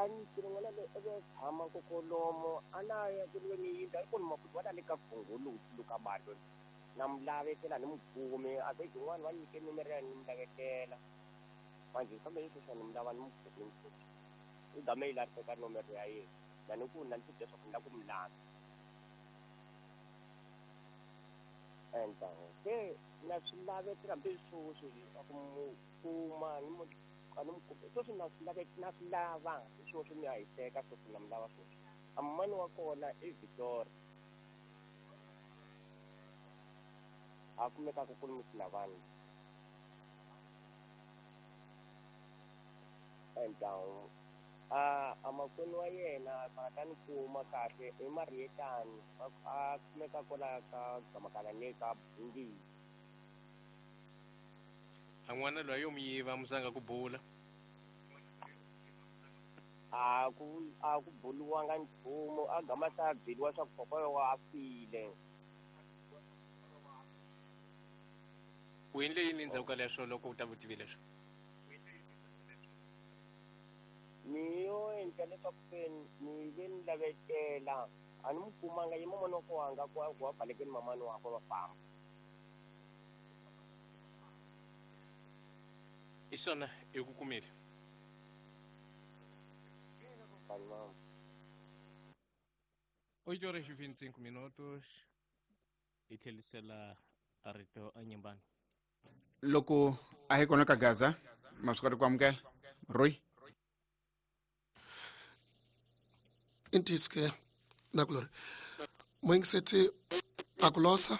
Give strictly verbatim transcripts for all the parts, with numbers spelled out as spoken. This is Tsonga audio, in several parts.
A ni n'wana loyi i ve tshama kokolomo a na ya ku ri ni yindlu a yi kona makuti wa le ka Gunguluti luka balo na mu lavetela ni mu kumi a ve yin'wana va nyike nomoro ya ni mu lavetela manje kambe yi sweswi ni mu lava ni mu kumi i game yi lahleka nomoro ya yena na ni ku na ni ti leswaku ni lava ku mu lava enta se na swi lavetela hambi sweswi ku mu kuma ni mu a ni mu kumi sweswi na swi lave na swi lava sweswi mi ya hiseka sweswi na mu lava sweswi a mani wa kona i Victoria a kumekaka ku ri Mutsinavani enta a a makwenu wa yena va ta ni kuma kahle i Marietani a kumeka kwala ka Gamakana ne ka Bungile a n'wana loyi yo mu yiva musanga ku bula a ku a ku buluwanga nchumu a gama ta byeliwa swa ku kokwana wa a file u endle yini endzhaku ka leswo loko u ta vutivi leswo ni yo endla leswaku se ni ve ni lavetela a ni mu kumanga ye mamani wa ko anga ku wa balekeni mamani wakwe va famba i swona i ku kumile oito horas e vinte e cinco minutos i tlhelisela rito enyimbani loko a hi kona ka Gaza ma swi kota ku amukela Roy intiske nakulori moingiseti akulosa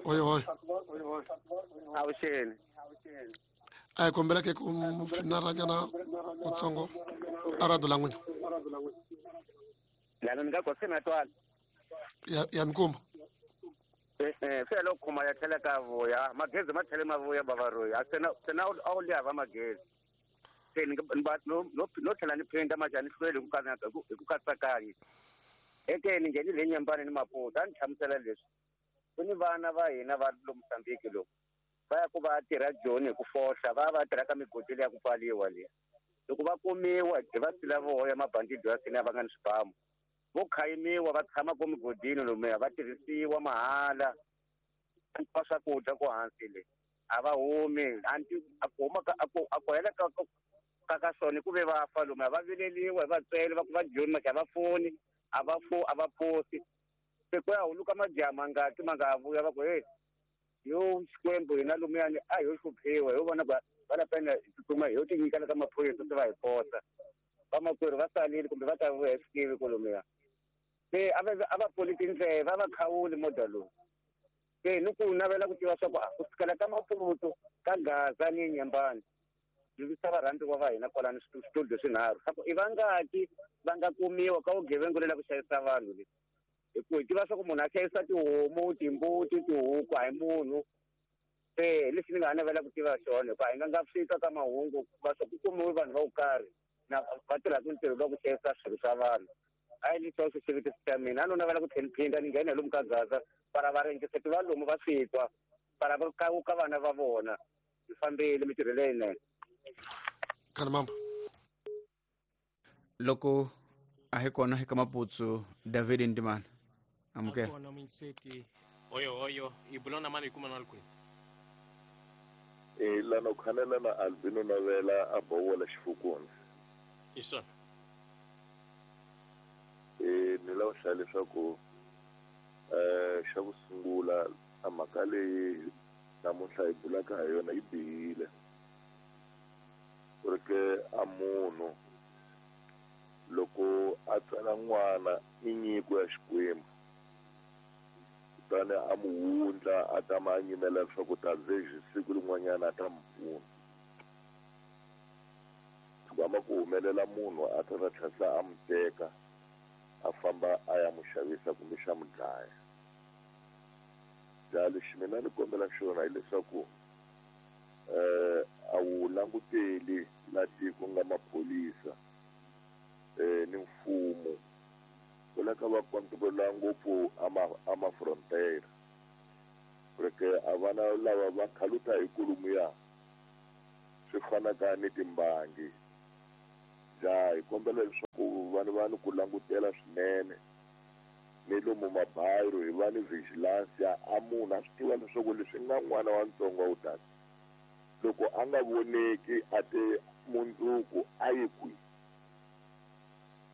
oyo oyo awuxeni a hi kombela ke ku finaranyana kutsongo a radio la n'wina lana ni nga ko se na twala ya ya mikumba eh eh se loko khoma ya tlhela ka vuya magezi ma tlhele ma vuya bavaroyi a se na se na a wu liya va magezi se ni no no no tlhela ni phinda ma ni hlweli ku katsa hi ku katsakanya eke ni nghenile le Nyambani ni Maputo a ni hlamusela leswi ku ni vana va hina va lo Mozambique loku va ya ku va tirha Joni hi ku fohla va va tirha ka migodi leya ku pfaliwa liya loko va kumiwa hi va sila voya mabandidi ya sina va nga ni swibamu vo khayimiwa va tshama ko migodini lomuya va tirhisiwa mahala va swakudya ko hansi le a va humi anti a ku huma a ku a ku hela ka ka ka swona ku ve va fa lomuya va vileliwa hi vatswele va ku va Joni maka va foni a va fo a va posi se ku ya huluka majaha mangaki ma nga vuya va ku hey yo Xikwembu hina lumuyani a hi hluphiwa hi vona va va la pena tsutsuma hi yo tinyikela ka maphorisa se va hi posa vamakwerhu va salile kumbe va ta vuya hi swi tivi kolomuya se a va a va pfuli tindleve a va khawuli moda lowu se ni ku navela ku tiva swa ku ku sukela ka Maputo ka Gaza ni Nyambani zivisa varhandziwa va hina kwalani switudio swinharhu swa ku i vangaki va nga kumiwa ka vugevenga lela ku xavisa vanhu le hi ku hi tiva swa ku munhu a xavisa tihomu timbuti tihuku a hi munhu se lexi ni nga ha navela ku tiva xona hikuva hi nga nga fika ka mahungu va swa ku kumiwe vanhu va ku karhi na va tirhaka ntirho wa ku xavisa swilo swa vanhu a yi lexi xo xivutiso xa mina a no navela ku tlhela phinda ni nghena lomu ka Gaza para va ringiseti va lomu va swi twa para va ka vana va vona hi fambile mintirho leyinene kana mambo loko a hi kona eka Maputsu David Ndimana amukela kona minseti oyo oyo ibulona mali kuma na kwini e lana khanela na Albino Novela a bowola xifukuni isona e ni lava hlaya leswaku eh xa ku sungula a mhaka leyi namuntlha hi bulaka ha yona yi bihile ku ri ke a munhu loko a tsala n'wana i nyiko ya Xikwembu kutani a mu wundla a tama a nyimela leswaku ta ze siku rin'wanyana a ta mu pfuna gama ku humelela munhu a ta ta tlhela a mu teka a famba a ya mu xavisa kumbe xa mu dlaya ja lexi mina ni kombela xona hileswaku eh a wu languteli la tiko nga maphorisa eh ni mfumo ku la ka va controla ngopfu ama ama frontier porque a vana lava va khaluta hi kulumu ya swi fanaka ni timbangi ja hi kombela leswaku va ni va ni ku langutela swinene ni lomu mabayiro hi va ni vigilance ya a munhu a swi tiva leswaku leswi nga n'wana wa ntsongo wu tata loko a nga voneki a te mundzuku a yi kwihi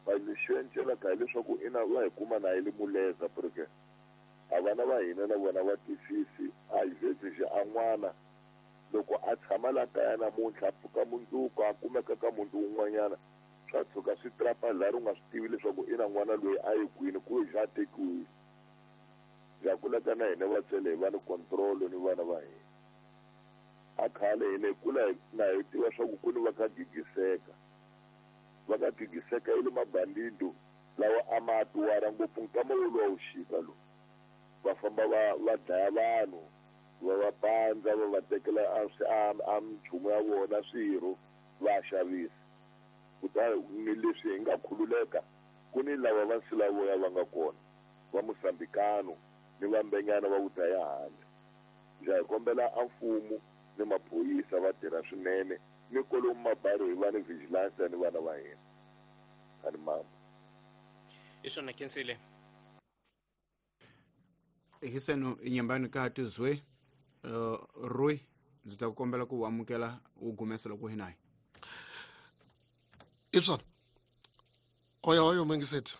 va lexi encelaka hileswaku ina va hi kuma na yi le muleza porque a vana va hina na vona va twisisi a hi vhetsixi a n'wana loko a tshama la kaya namuntlha a pfuka mundzuku a kumeka ka muti wun'wanyana swa tshuka swi trapa laha ri nga swi tivi leswaku ina n'wana loyi a yi kwini ku xa tekiwile ya kulaka na hina vatswele hi va ni control ni vana va hina a khale hina hi kula na hi tiva swa ku ku ni va ka gigiseka va ka gigiseka yi le mabandido lawa a ma tuwara ngopfu nkama woluwa wu xika lowu va famba va va dlaya vanhu va va pandza va va tekela a a minchumu ya vona swirho va xavisa kutani ni leswi hi nga khululeka ku ni lava va nsilavoya va nga kona va Mosambikano ni va Mbenyana va ku dlaya handle ndza hi kombela a mfumo ni maphorisa va tirha swinene ni kolomu mabaro hi va ni vigilance ni vana va hina ani mama hi swona khensile hiseno inyambani ka tizwe uh, Roy ndzi ta ku kombela ku amukela u gumesa loko hi nayi Ibson oya oyo mengiseti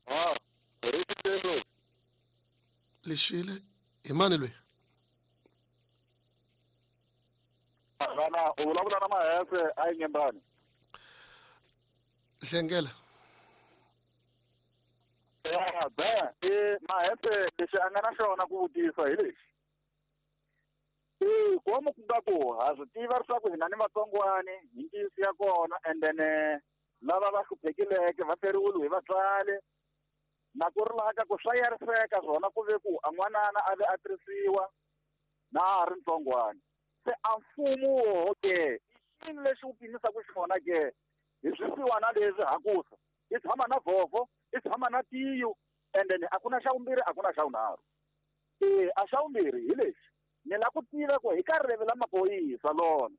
ah lexile hi mani lweyi vana u vulavula na Mahese a yi nyembani hlengela ya be i Mahese lexi a nga na xona ku vutisa hi lexi i komu ku nga ku ha swi tiva leswaku hina ni vatsongwani hi ntiyiso ya kona and then lava va hluphekileke va feriwile hi vatswari na ku ri laha ka ku swa yariseka swona ku ve ku a n'wanana a ve a tirhisiwa na a ha ri ntsongwani se a mfumo woho ke i xini lexi wu pimisaka xona ke hi swisiwana leswi hakusa i tshama na vhovho i tshama na tiyo and then a ku na xa vumbirhi a ku na xa vunharhu e a xa vumbirhi hi lexi ni la ku tiva ku hi ka rivele la maphorisa lona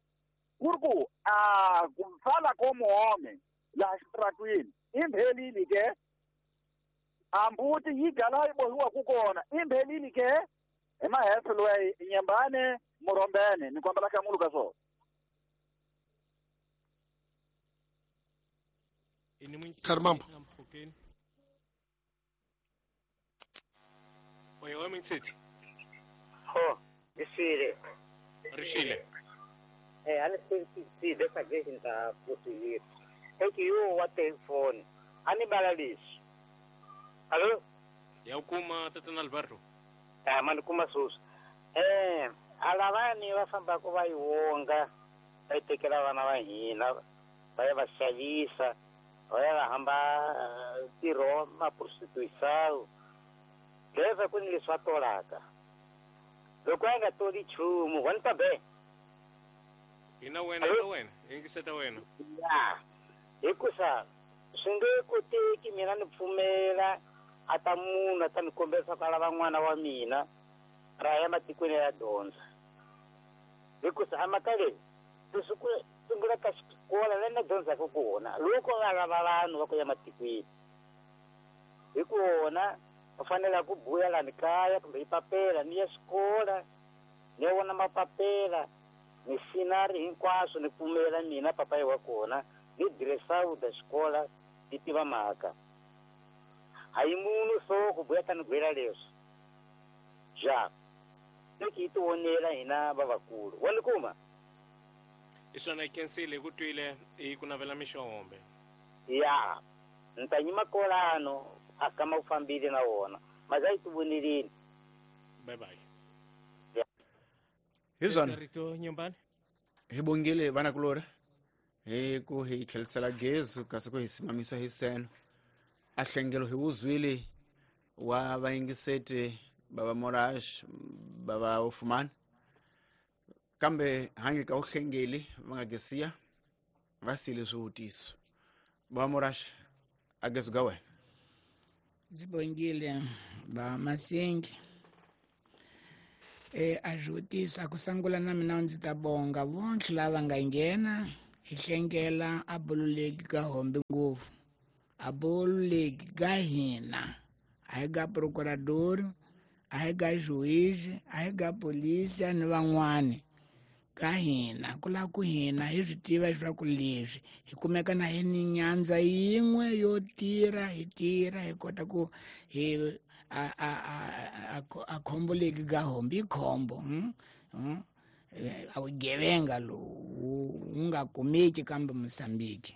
ku ri ku a ku pfala ko muhome laha xitaratwini i mphelile ke a mbuti yi gala yi bohiwaku kona i mphelile ke hi Mahese loyi Nyembane Murombene ni kombela hlamulu ka swona Karimambo oya oya mingiseti ho rixile rixile eh a ni swi suggestion ta possibility eke yo wa telefoni a ni bala leswi alo ya u kuma tatana Alberto a ma ni kuma sweswi eh a lavani va fambaka va yi wonga va yi tekela vana va hina va ya va xavisa va ya va hamba ntirho ma prostituisawu leva ku ni leswi va tolaka loko a nga toli nchumu wa ni ta be hina wena hina wena yingiseta wena ya hikusa swi nge koteki mina ni pfumela a ta munhu a ta ni kombela ku a lava n'wana wa mina ra ya matikweni ya dyondza hikusa a mhaka leyi leswi ku sungula ka xikola la ni dyondzaka kona loko va lava vanhu va ku ya matikweni hi kona va fanele ku buya lani kaya kumbe hi papela ni ya xikola ni ya vona mapapela ni sinari hinkwaswo ni pfumela mina papayi wa kona ni diresauda xikola ni tiva mhaka hayi munhu so ku buya ta ni gwela leswi ja leki hi tivonela hina vavakulu wa ni kuma hi swona khensile hi ku twile hi ku navela mixombe ya ni ta nyima kolano a kama u fambile na wona maza yi tivoneleni bye bye hi swona rito Nyembani hi bongile vanakulori hi ku hi tlhelisela gezi kasi ku hi simamisa hi seno a hlengelo hi wuzwile wa vayingiseti bava Morash bava Ufumani kambe hange ka uhlengeli va nga gesiya va sile swivutiso bava Morash a gezi ga wena ndzi bongile ba Masingi e a swivutiso a ku sungula na mina ndzi ta bonga vonke lava nga nghena Hi hlengela a bululeki ka hombe ngopfu. A bululeki ka hina. A hi ga procurador, a hi ga juiz, a hi ga polícia ni van'wani. Ka hina ku lava ku hina hi swi tiva leswaku leswi hi kumeka na hi ni nyandza yin'we yo tirha hi tirha hi kota ku hi a a a a khombo leki ga hombi i khombo a vugevenga lowu wu nga kumeki kambe Mozambique.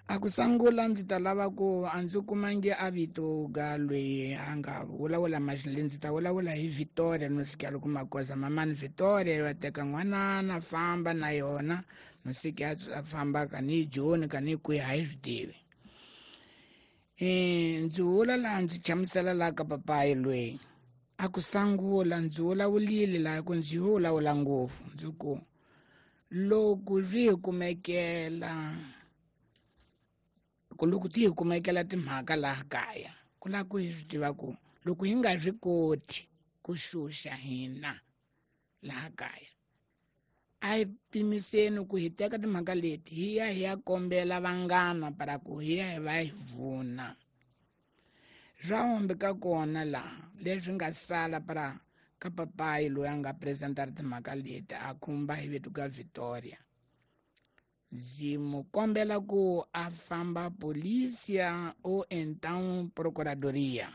A ku sungula ndzi ta lava ku a ndzi kumangi a vito ga loyi a nga vulavula maxile ndzi ta vulavula hi Victoria no sika loko makosa mamani Victoria va teka n'wanana famba na yona no sika a famba ka ni Joni ka ni kwihi a hi swi tivi. E ndzi vula laha ndzi chamusela laha ka papayi loyi a ku sungula ndzi vulavulile laha ku ndzi vulavula ngopfu ndzi ku loko swi hi kumekela ku loko ti hi kumekela timhaka laha kaya ku lava ku hi swi tiva ku loko hi nga swi koti ku xuxa hina laha kaya a hi pimiseni ku hi teka timhaka leti hi ya hi ya kombela vanghana para ku hi ya hi va hi vuna. Swa hombe ka kona laha leswi nga sala para ka papayi loyi a nga presentara timhaka leti a khumba hi vito ka Victoria. Ndzi mu kombela ku a famba polícia ou então procuradoria.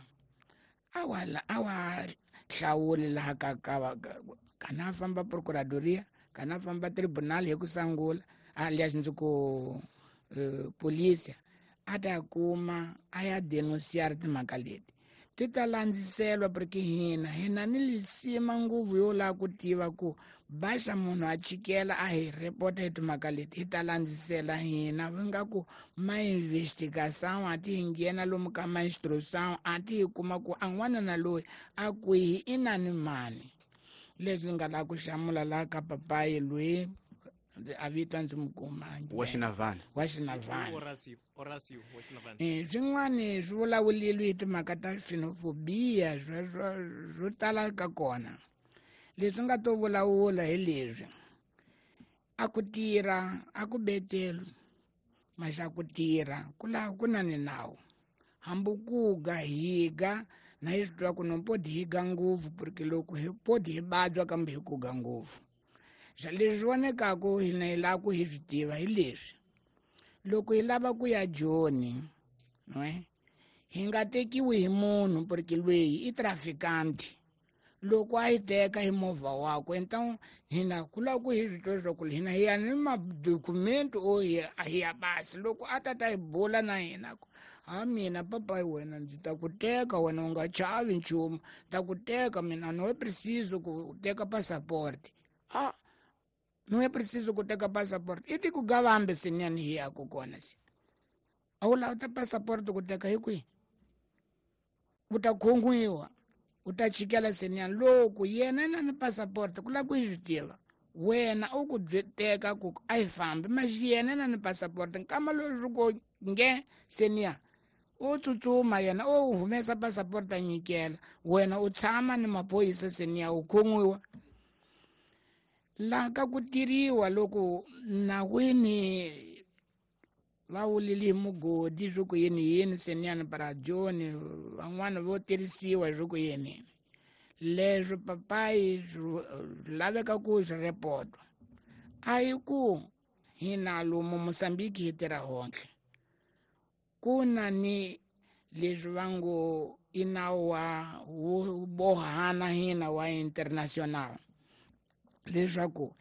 Awa awa hlawuli laha ka ka kana a famba procuradoria kana a famba tribunal hi ku sungula alias ndzi ku uh, polícia a ta kuma a ya denunciar timhaka leti ti ta landziselwa porque hina hina ni lisima nguvu yo lava ku tiva ku baxa munhu a chikela a hi repota hi timhaka leti hi ta landzisela hina va nga ku ma investigação a ti hi nghena lomu ka ma instrução a ti hi kuma ku a n'wana na loyi a kwihi i na ni mani. Leswi nga lava ku hlamula laha ka papayi loyi a vita ndzi mu kumangi wa Xinavana wa Xinavana Horacio Horacio wa Xinavana. Eh swin'wani swi vulavulile hi timhaka ta xenofobia swo tala ka kona. Leswi nga to vulavula hi leswi a ku tirha a ku betelo maxa ku tirha ku lava ku na ni nawu hambi ku ga higa na hi swi twa ku no podi higa ngopfu porque loko hi podi hi vabya kambe hi ku ga ngopfu. Swa leswi vonekaku hina hi lava ku hi swi tiva hi leswi loko hi lava ku ya Joni ne hi nga tekiwi hi munhu porque loyi i traficante loko a hi teka hi movha wakwe então hina ku lava ku hi swi twa leswaku hina hi ya ni madokumenti o hi hi ya basi loko a ta ta hi bula na hina ku ha mina papayi wena ndzi ta ku teka wena u nga chavi nchumu ta ku teka mina no preciso ku teka passport a no é preciso ku teka passport i ti ku gavambe siniyani hi ya ku kona se a wu lava ta passport ku teka hi kwihi u ta khongiwa u ta chikela siniyani loko yena na ni passport ku lava ku hi swi tiva wena u ku teka ku a hi fambi maxi yena na ni passport nkama lowu swi ku nge seniya u tsutsuma yena u humesa passport a nyikela wena u tshama ni maphorisa seniya u khongiwa. Laha ka ku tirhiwa loko nawini va vulile hi mugodi swi ku yini yini seniyani para Joni van'wana vo tirhisiwa swi ku yini leswi papayi swi laveka ku swi repotwa a hi ku hina lomu Mozambique hi tirha hontle ku na ni leswi va ngo i nawu wa wo bohana hina wa international leswaku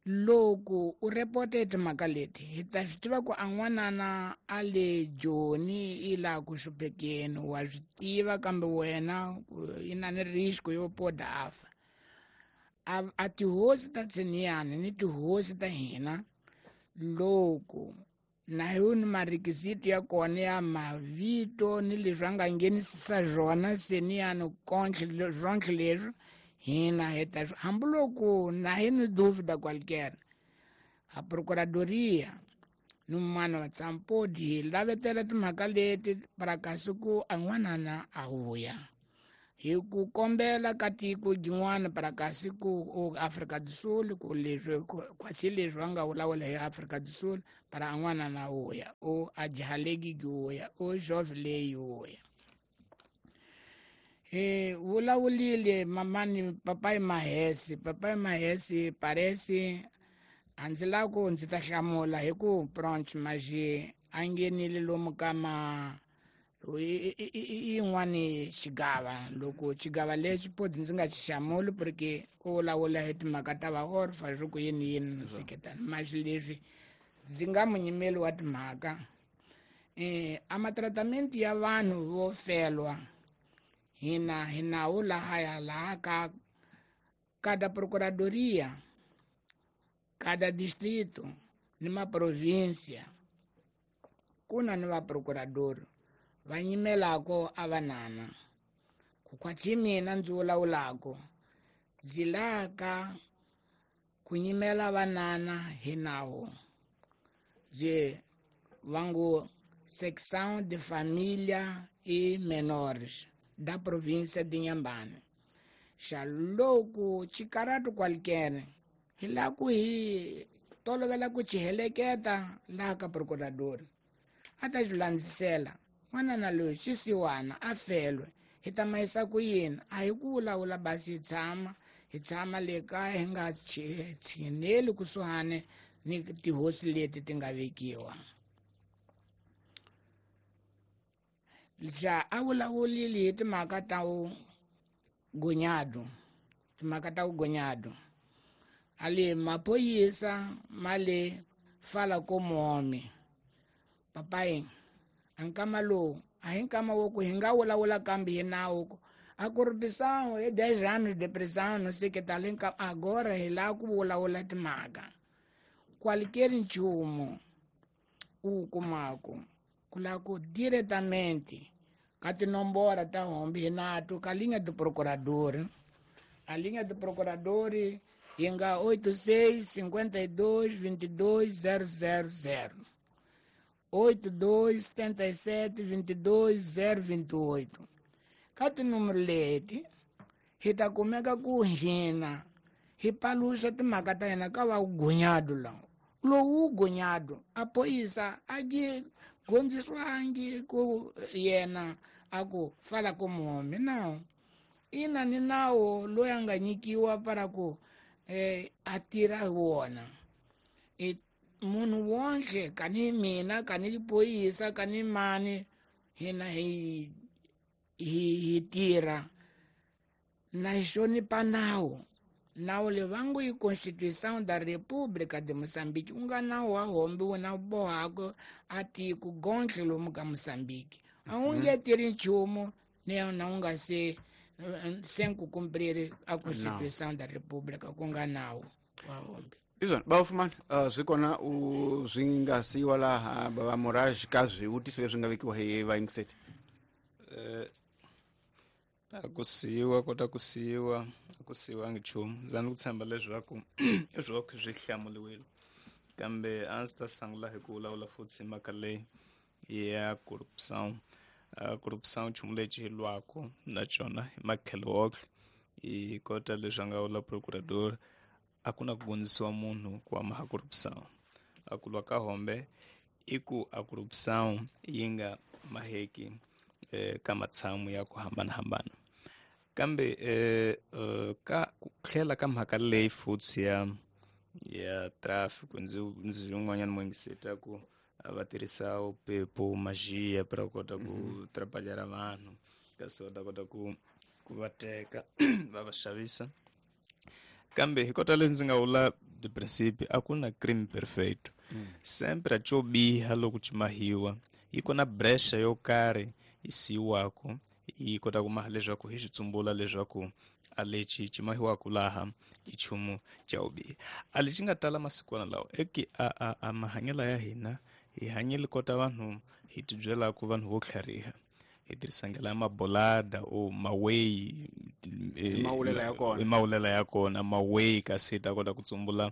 loko u repote timhaka leti hi ta swi tiva ku a n'wanana a le Joni i laha ku hluphekeni wa swi tiva kambe wena i na ni risk yo poda a fa. A, a tihosi ta tsiniyani ni tihosi ta hina loko na hi ni marequisito ya kona ya mavito ni leswi a nga nghenisisa swona seniyani kontlhe swontlhe leswi hina hi ta hambiloko na hi ni dúvida qualquer a procuradoria ni un'wana wa tsampodi hi lavetela timhaka leti para kasi ku a n'wanana a vuya Hi ku kombela ka tiko jin'wana para kasi ku Afrika do Sul ku leswi kwatsi leswi va nga vulavula hi Afrika do Sul para an'wana na uya o a jahaleki uya o jove leyi uya. E vulavulile mamani papai Mahesi papai Mahesi parece a ndzi lava ku ndzi ta hlamula hi ku pronto maji a nghenile lomu ka ma yin'wani xigava loko xigava lexi poti ndzi nga xi hlamuli porque u vulavula hi timhaka ta va orfa swi ku yini yini seketana maxi leswi ndzi nga munyimeli wa timhaka eh a matratamento ya vanhu vo felwa hina hi nawu lahaya laha ka cada procuradoria cada distrito ni ma província ku na ni va procurador va nyimelako a vanana ku khwatsi mina ndzi vulavulako ndzi laka ku nyimela vanana hi nawu ndzi vangu secção de família e menores da província de Inhambane. Xa loko xikaratu qualquer hi la ku hi tolovela ku xi heleketa laha ka procurador a ta xi landzisela n'wanana loyi xisiwana a felwe hi ta mayisa ku yini a hi ku vulavula basi hi tshama hi tshama le kaya hi nga tshineli kusuhani ni tihosi leti ti nga vekiwa. Ja a vulavulile hi timhaka ta gonyado timhaka ta gonyado ali mapoyisa male fala como homem papai a nkama lowu a hi nkama wo ku hi nga vulavula kambe hi nawu a corrupção é dez anos de prisão não sei que tal agora hi lava ku vulavula timhaka qualquer nchumu u kumaku ku lava ku diretamente ka tinomboro ta hombi hi nato ka linha do procurador a linha do procurador yi nga oito seis cinquenta e dois vinte e dois zero zero zero oito dois setenta e sete vinte e dois zero vinte e oito ka tinúmero leti hi ta kumeka ku hina hi paluxa timhaka ta hina ka va gunyado lawa lowu gunyado a poyisa a gi gondziswangi ku yena a ku fala como homem não ina ni nawu loyi a nga nyikiwa para ku eh, a tirha hi wona e munhu wonhle kani mina kani poyisa kani mani hina hi hi hi tirha na hi hlonipha nawu nawu leyi va ngo i Constituição da República de Moçambique ku nga nawu wa hombi wu na bohaka a tiko gontle lomu ka Moçambique a wu nge tirhi nchumu ni na wu nga se sem ku cumprir a Constituição da República ku nga nawu wa hombi. Izvona bafumana uh, swi kona u swi nga siyiwa laha bava Moraj ka swivutiso leswi nga vekiwa hi vayingiseti eh a ku siyiwa kota ku siyiwa a ku siyiwangi nchumu ndza ni ku tshemba leswaku leswaku swi hlamuriwile kambe a ndzi ta sungula hi ku vulavula futhi hi mhaka leyi ya corrupção. A corrupção nchumu lexi hi lwaka na xona hi matlhelo woxe hi kota leswi a nga vula procurador a ku na ku gondzisiwa munhu ku amaha corrupção a ku lwa ka hombe i ku a corrupção yi nga maheki eh, ka matshamu ya ku hambanahambana kambe eh, uh, ka ku tlhela ka mhaka leyi futhi ya ya traffic ndzi ndzi yin'wanyana muingiseta ku va tirhisa upepo magia para kota ku mm -hmm. trabalhar vanhu kasi va ta kota ku ku va teka va va xavisa kambe hi kota leswi ndzi nga vula de princípio a ku na crime perfeito mm. sempre a xo biha loko xi mahiwa yi kona brecha yo karhi yi siyiwako yi kota ku maha leswaku hi xi tsumbula leswaku a lexi xi mahiwaka laha i nchumu xa vubihi a lexi nga tala masikwana lawa eki a a a mahanyelo ya hina hi hanyile kota vanhu hi tibyelaka vanhu vo tlhariha hi tirhisa ndlela ya mabolada o maweyi mawulela ya kona i mawulela ya kona maweyi kasi hi ta kota ku tsumbula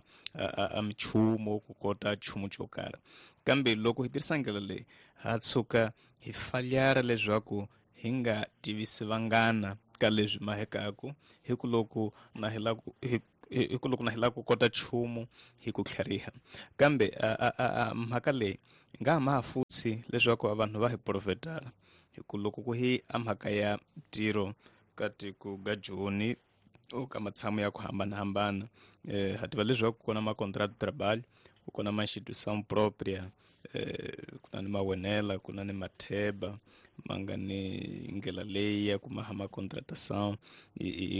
a michumu ku kota nchumu xo karhi kambe loko hi tirhisa ndlela leyi ha tshuka hi falyara leswaku hi nga tivisi vanghana ka leswi mahekaku hi ku loko na hi la ku hi ku loko na hi la ku kota nchumu hi ku tlhariha kambe mhaka leyi nga ma futhi leswaku vanhu va hi profetara hi ku loko ku hi a mhaka ya ntirho ka tiko ga Joni o ka matshamo ya ku hambanahambana eh ha tiva leswaku ku na ma contrato de trabalho ku na ma instituição própria eh ku na ni mawenela ku na ni matheba ma nga ni ndlela leyi ya ku maha ma contratação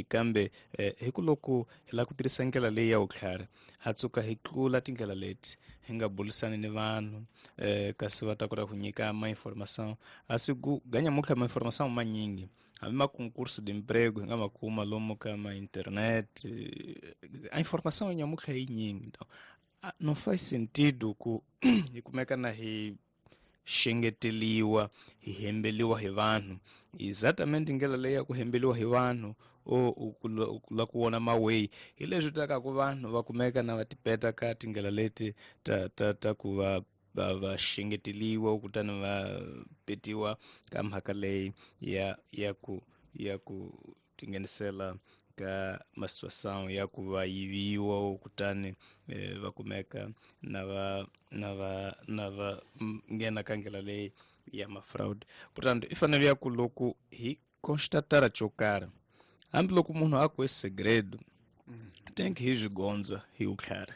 kambe hi ku loko hi lava ku tirhisa ndlela leyi ya vutlhari ha tsuka hi tlula tindlela leti hi nga bulisani ni vanhu eh kasi va ta kota ku nyika ma informação a si ku ganyamutlha ma informação manyingi hambi ma concurso de emprego hi nga ma kuma lomu ka ma internet a informação ya nyamutlha yi nyingi então não faz sentido ku hi kumeka na hi xengeteliwa hi hembeliwa hi vanhu exatamente ndlela leyi ya ku hembeliwa hi vanhu o ku la ku vona maweyi hi leswi taka ku vanhu va kumeka na va tipeta ka tindlela leti ta ta ta ku va va va xengeteliwa kutani va petiwa ka mhaka leyi ya ya ku ya ku tinghenisela ka ma situação ya ku va yiviwa kutani eh, va kumeka na va na va na va nghena ka ndlela leyi ya ma fraud portanto i fanele ya ku loko hi constatara xo karhi hambiloko munhu a ku i segredo tem que hi swi gondza hi vutlhari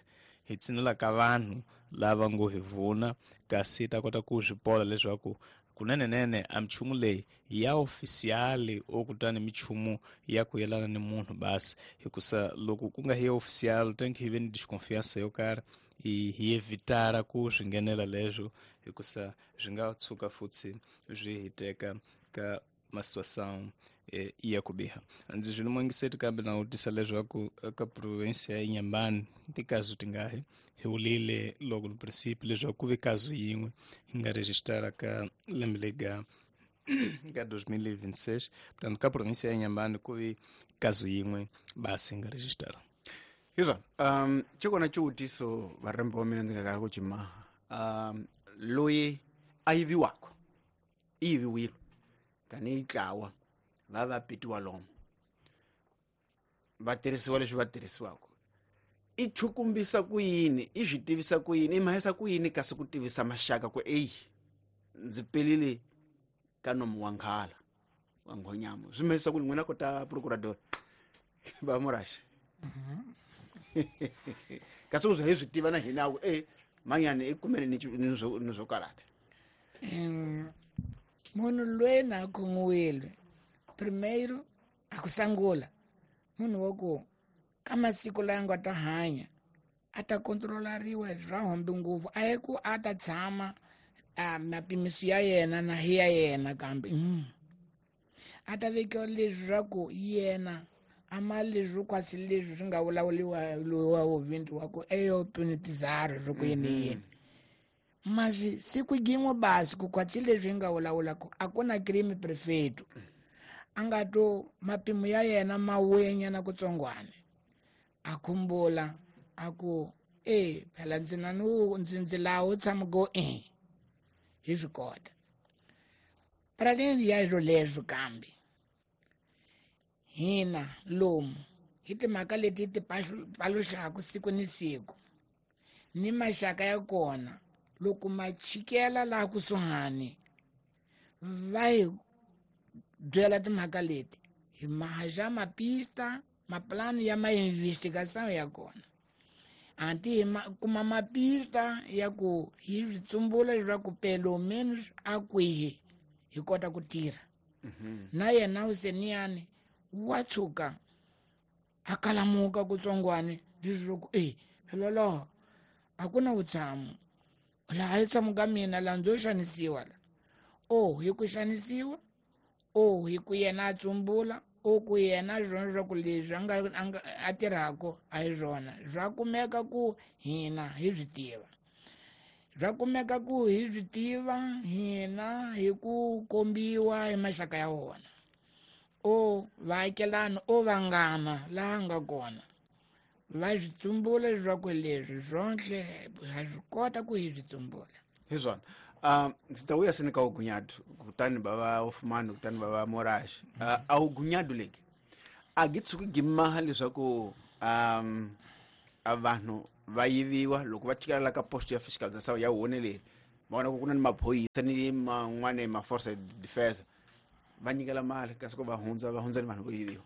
hi tshinela ka vanhu lava ngo hi vuna kasi hi ta kota ku swi pola leswaku kunenenene a michumu leyi ya ofisiali o kutani michumu ya ku yelana ni munhu basi hikusa loko ku nga hi ya ofisiali tem que hi ve ni desconfiança yo karhi hi hi evitara ku swi nghenela leswo hikusa swi nga tshuka futhi swi hi teka ka ma situação eh, ya ku biha ndzi swi limungiseti kambe na vutisa leswaku ka province ya Inhambane tikazu tingahi hi wulile loko no princípio leswaku ku ve kazu yin'we hi nga registara ka lembe lega ka dois mil e vinte e seis portanto ka província ya Inhambane ku ve kazu yin'we basi hi nga registara hizwa um chikona xivutiso varembe wa mina ndzi nga kala ku cimaha um loyi a yiviwaka i yiviwile kani yi tlawa va va petiwa lomu va tirhisiwa leswi va tirhisiwaka i chukumbisa ku yini i swi tivisa ku yini i mahisa ku yini kasi ku tivisa maxaka ku eyi ndzi pelile ka nomu wa nghala wa nghonyama swi mahisa ku n'wina kota procurador va muraxa kasi u za hi swi tiva na hina ku e manyani i kumene ni ni swo ni swo karata munhu loyi na khomiwile primeiro a ku sangula munhu wa ku ka masiku laya nga ta hanya a ta kontrolariwa swa hombi ngopfu a hi ku a ta tshama a mapimiso ya yena na hi ya yena kambe mm. a ta vekiwa leswaku yena a ma leswi kwasi leswi swi nga vulavuriwa loyi wa vuvindi wa ku eyo punitizaro swa ku yini yini mas siku gin'we basi ku kwatsi leswi nga vulavulaka a ku na crime prefeito a nga to mapimo ya yena ma wenyana kutsongwane a khumbula a ku e phela ndzi na nu ndzi ndzi laha u tshama go e hi swi kota para além ya swilo leswo kambe hina lomu hi timhaka leti ti paluxaka siku ni siku ni maxaka ya kona loko ma chikela laha kusuhani va hi byela timhaka leti hi mahaxa mapista maplano ya ma investigação ya kona anti hi ma kuma mapista ya ku hi swi tsumbula leswaku pelo menos a kwihi hi kota ku tirha na yena useniyani wa tshuka a kalamuka kutsongwane leswaku e phela laha a ku na vutshamo laha hi tshamo ka mina laha ndzo xanisiwa la o hi ku xanisiwa o hi ku yena a tsumbula o ku yena swona leswaku leswi a nga a tirhaka a hi swona swa kumeka ku hina hi swi tiva swa kumeka ku hi swi tiva hina hi ku kombiwa hi maxaka ya wona o vaakelani o vanghana laha nga kona va swi tsumbula leswaku leswi swonhle ha swi kota ku hi swi tsumbula hi swona Um ndzi ta vuya seni ka ugunyadu kutani bava Ofumani kutani bava Morash. Uh, a ugunyadu leki a gi tshuki gi maha leswaku um a vanhu va yiviwa loko va chikela ka post ya fiscalização ya wone va vona ku ku na ni maphorisa ni man'wana ma force de defense va nyikela mali kasi ku va hundza va hundza ni vanhu vo yiviwa.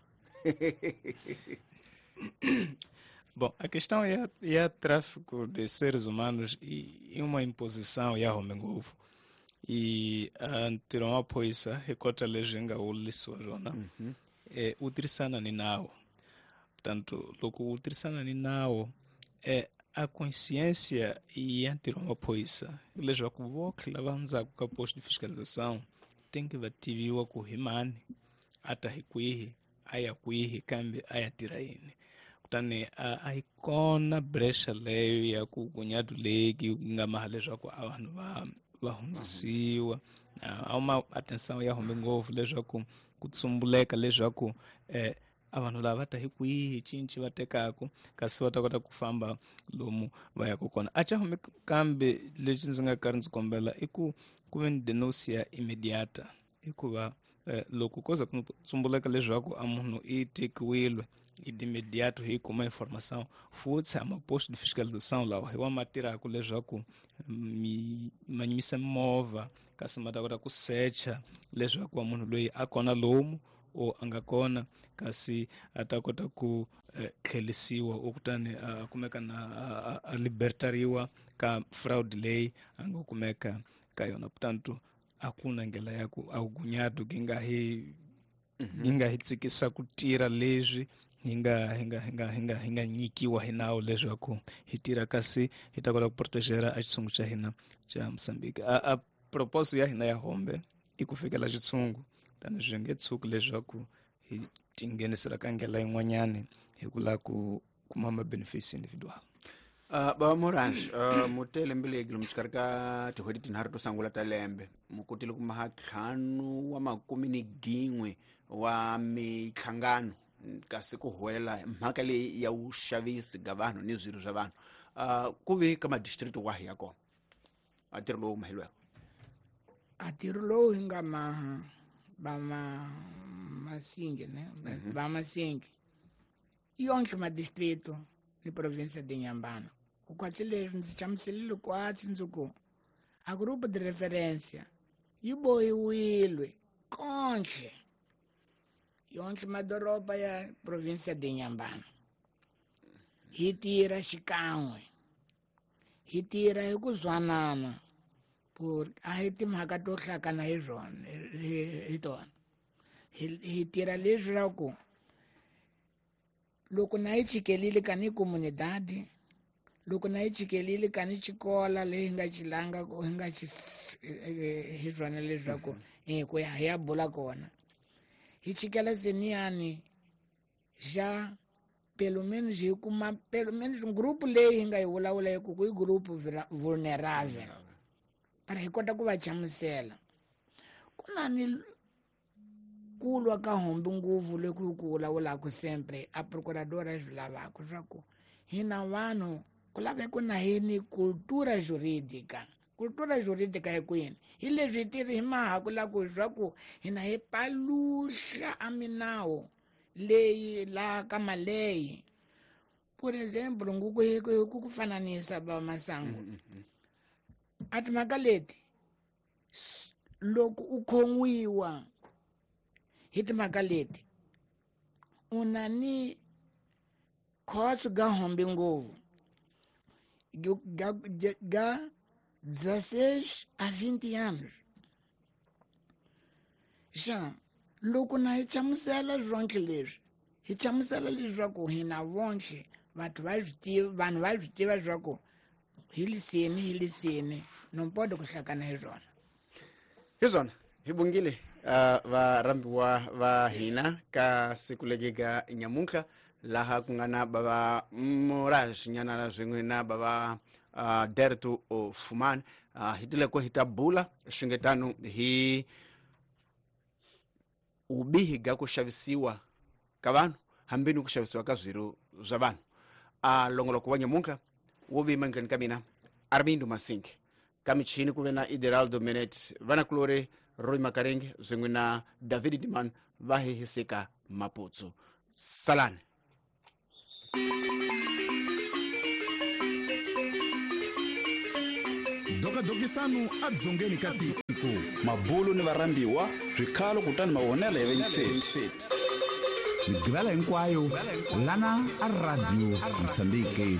Bom, a questão é, é tráfico de seres humanos e, e uma imposição ya home ngopfu. E ntirho wa maphorisa hi kota leswi nga wulisiwa swona eh u tirhisana ni nawu. Portanto, loko u tirhisana ni nawu eh a consciência ya ntirho wa maphorisa leswaku votlhe lava hundzaka ka posto de fiscalização tem que va tiviwa ku hi mani a ta hi kwihi a ya kwihi kambe a ya tirha yini. Kutani a yi kona brecha leyo ya ku gunyadu leki nga maha leswaku a vanhu va va hundzisiwa. A uma atenção ya hume ngopfu leswaku ku tsumbuleka leswaku eh a vanhu lava ta hi kwihi cinci va tekaka kasi va ta kota ku famba lomu va yaka kona. A xa hume kambe lexi ndzi nga karhi ndzi kombela i ku ku ve ni denúncia imediata hikuva eh, loko ko za ku tsumbuleka leswaku a munhu i tekiwile e de imediato hi kuma informação futhi ama posto de fiscalização lawa hi wa ma tirhaka leswaku mi ma yimisa movha kasi ma ta kota ku secha leswaku wa munhu loyi a kona lomu o a nga kona kasi a ta kota ku eh, tlhelisiwa o kutani a kumeka na a, a libertariwa ka fraud leyi a nga kumeka ka yona. Portanto a ku na ndlela ya ku a gunyadu gi nga hi gi nga hi tsikisa ku tirha leswi hi nga hi nga hi nga hi nga hi nga nyikiwa hi nawu leswaku hi tirha kasi hi ta kota ku protegera a xitshungu xa hina xa Mozambique. A, a propósito ya hina ya hombe i ku fikela xitshungu tani swi nge tshuki leswaku hi tinghenisela ka ndlela yin'wanyani hi ku lava ku kuma ma-benefits individual. Uh, baba Morash, uh, mutele mbeleki lomu xikarhi ka tin'hweti tinharhu to sungula ta lembe mu kotile ku maha ntlhanu wa makume ni gin'we wa mihlangano kasi ku huwelela mhaka leyi ya vuxavisi ga vanhu ni swirho swa vanhu. Uh, ku ve ka madistrict wahi ya kona a ntirho lowu maheliweke? A ntirho lowu hi nga maha va ma Masinge ne va Masinge yonke madistrito ni província de Inhambane. O kwatsi leswi ndzi hlamuselile kwatsi ndzi ku a grupo de referência yi bohiwile konhle yonke madoroba ya província de Inhambane. Hi tirha xikan'we, hi tirha hi ku zwanana por a hi timhaka to hlakana hi swona hi tona. Hi tirha leswaku loko na hi chikelile ka ni comunidade, loko na hi chikelile ka ni xikola leyi hi nga xilanga hi nga xi hi swona leswaku eh ku ya hi ya bula kona hi chikela seniyani xa pelo menos hi kuma pelo menos um grupo leyi hi nga yi vulavula hi ku i grupo vulnerável para hi kota ku va hlamusela. Ku na ni kulwa ka hombe ngopfu loku hi ku vulavulaka sempre a procuradora swi lavaka swa ku hina vanhu ku laveka na hi ni cultura jurídica. Cultura jurídica hi kwini? Hi leswi hi tirhi hi mahaku la ku swa ku hina hi paluxa a minawu leyi laha ka maleyi. Por exemplo, nguku hi ku ku fananisa va masangu a timhaka leti loko u khon'wiwa hi timhaka leti u na ni khotso ga hombe ngopfu ga ga dezesseis a vinte anos. Já loko na hi hlamusela swonke leswi hi hlamusela leswaku hina vonke vanhu va swi tiva vanhu va swi tiva leswaku hi liseni hi liseni no pode ku hlakana hi swona. Hi swona hi bongile uh, va rambiwa va hina ka siku legi ga nyamuntlha laha ku nga na bava Morash nyana swin'we na bava uh, Derto Fumani. Uh, hi tile ku hi ta bula swingetano hi ubihi ga ku xavisiwa ka vanhu hambi ni ku xavisiwa ka swirho swa vanhu. A longoloko wa nyamuntlha wo vima ndleni ka mina Armindo Masinge. Ka michini ku ve na Ideraldo Menet, vanakulori Roy Makaringi swin'we na David Diman va hihiseka Maputsu. Salani. Dokadokisanu adzongeni ka tiko. Mabulu ni varhambiwa swikhalo kutani mavonelo ya vayingiseti. Migivela hinkwayo lana a Radio Mozambique.